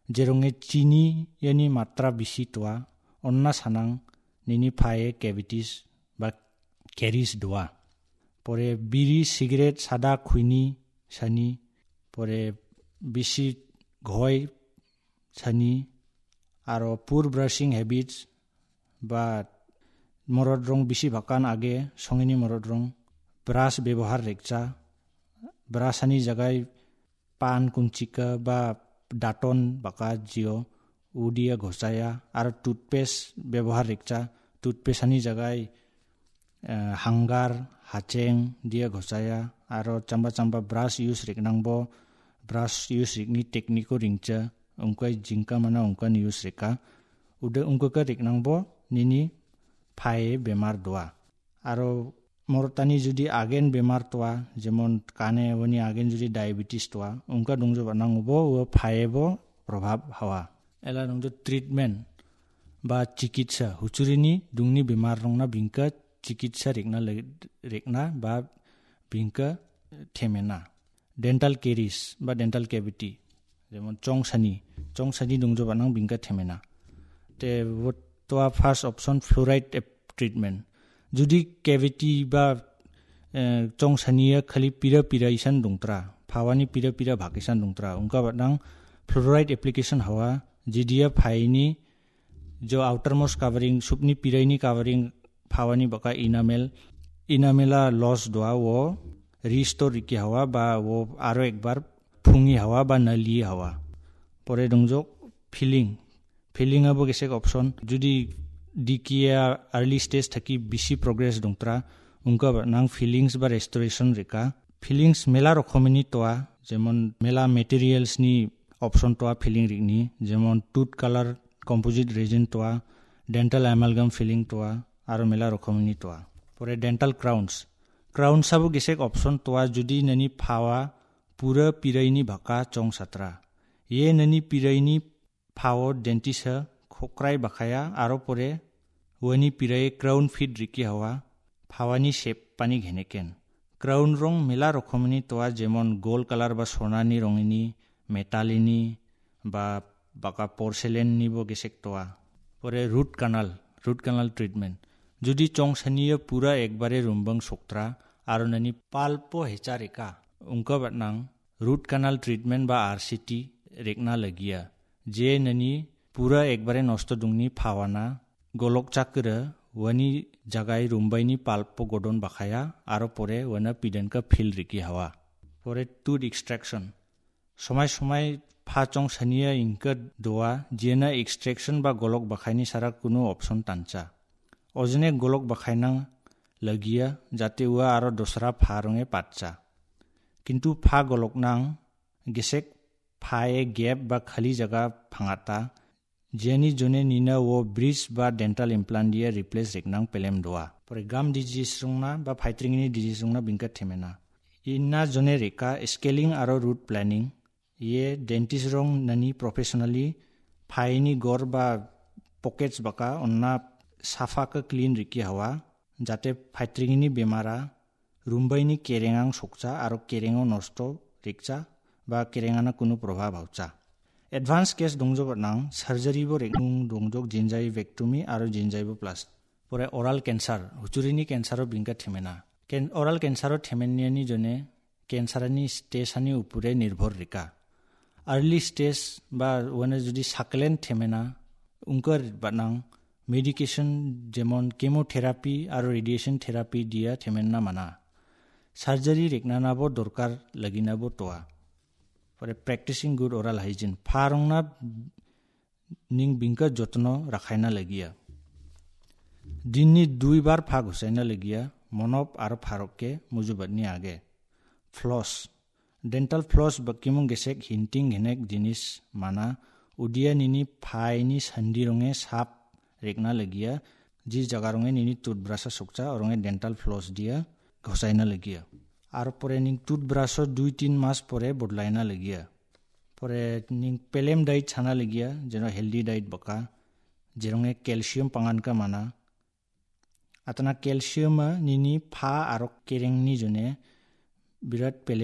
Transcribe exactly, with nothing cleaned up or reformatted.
Jeronge chini iani matra bisi toa, onna sanang nini phae cavities ba caries doa. Pore biri, cigarette, sada khuini sani, pore bisi ghoi sani, aro poor brushing habits ba morot rong bisi bakan age songini morot rong brush bebohar rekcha, brush ani jagai pan kunchika ba daton baka jio udia ghosaya, aro toothpaste bebohar rekcha, toothpaste ani jagai eh, hanggar, hacheng dia ghosaya, aro chamba chamba brush use riknangbo, brush use rikni technique-o ringcha, ungkai jingka mana ungkan use rika. Ude ungkaka riknangbo nini phae bemar doa. Aro morotani judi agen bemar toa, jemon kane woni agen judi diabetes toa, ungka dongjo banangobo ua phae bo probhab hawa. Ela dongjo treatment ba chikitsa, huchurini dungni bemar rongna bingka chikitsa rekna le-, rekna ba bingka themena. Dental caries ba dental cavity, jemon chongsani, chongsani dongjo banang bingka themena. Te wot toa first option fluoride ap-, treatment. Judi cavity ba eh, chongsania khali pira pira isan dongtra, phawani pira pira bhak isan dongtra, ungka batnang fluoride application hawa, jidia phaini jo outermost covering, supni piraini covering, phawani baka enamel, enamela loss doa wo restore riki hawa ba wo aro ekbar phungi hawa ba nali hawa. Pore dongjok filling. Filling abo gesek option. Judi dikia early stage thaki bisi progress dongtra, ungka ba nang fillings ba restoration rika. Fillings mela rokomini toa, jemon mela materials ni option toa filling rikni, jemon tooth color composite resin toa, dental amalgam filling toa, aro mela rokomini toa. Pore dental crowns. Crowns abo gesek option toa judi nani phawa pura piraini baka chong satra. Ye nani piraini phao dentist ha khokrai bakaya aro pore uani pirai crown fit riki hawa phawani shape pani gheneken. Crown rong mela rokomni toa jemon gold color ba sonani rongini, metalini ba baka porcelain ni bo gesek toa. Pore root canal, root canal treatment. Judi chong sania pura ekbare rumbang soktra aro nani palpo hecha reka. Ungka batnang root canal treatment ba R C T rekna lagia. Je nani pura ekbare nosto dongni phawana golok chakra wani jagai rumbaini palpo godon bakaya aro pore wana pidanka phil riki hawa. Pore tooth extraction. Somai somai pha chong sania ingka doa, jiana extraction ba golok bakhaini sara kunu option tancha. Ojone golok bakhainang lagia, jate ua aro dosra pha ronge patcha. Kintu pha golok nang gesek phae gap ba khali jaga phangata, jiani jone nina wo bridge ba dental implant dia replace reknang pelem doa. Pore gum disease rongna ba phaitringni disease rongna bingka themena. Ina jone reka scaling aro root planing. Ye dentist rong nani professionally phaini gor ba pockets baka onna safa ka clean riki hawa. Jate phaitringni bemara rumbaini kerengang sokcha aro kerengo nosto rikcha ba kerengana kunu probhab haucha. Advance case dongjoba nang surgery bo reknung dongjok jinjai vectomy aro jinjai bo plastic. Pore oral cancer, huchurini cancer o bingka themena. Ken-, oral cancer o themeniani jone cancer ani stage ani upure nirbhor rika. Early stage ba wana jodi saklen themena ungkar banang medication jemon chemotherapy aro radiation therapy dia themenna mana. Surgery reknana bo dorkar lagina bo toa. Pore practicing good oral hygiene. Pharongna ning bingka jotno rakhaina lagia. Dinni dui bar pha gusaina lagia, monop aro pharokke mujubatni age. Floss. Dental floss bakimung gesek hinting henek jinis mana udia nini phaini sandi ronge sap rekna lagia, ji jaga ronge nini toothbrush sokcha, oronge dental floss dia gusaina lagia. Aro pore ning toothbrush o dui tin mas pore bodlaina lagia. Pore ning pelem diet chana lagia, jeno healthy diet baka, jeronge calcium pangan ka mana. Atana calcium a nini pha aro kereng ni jone birat pelem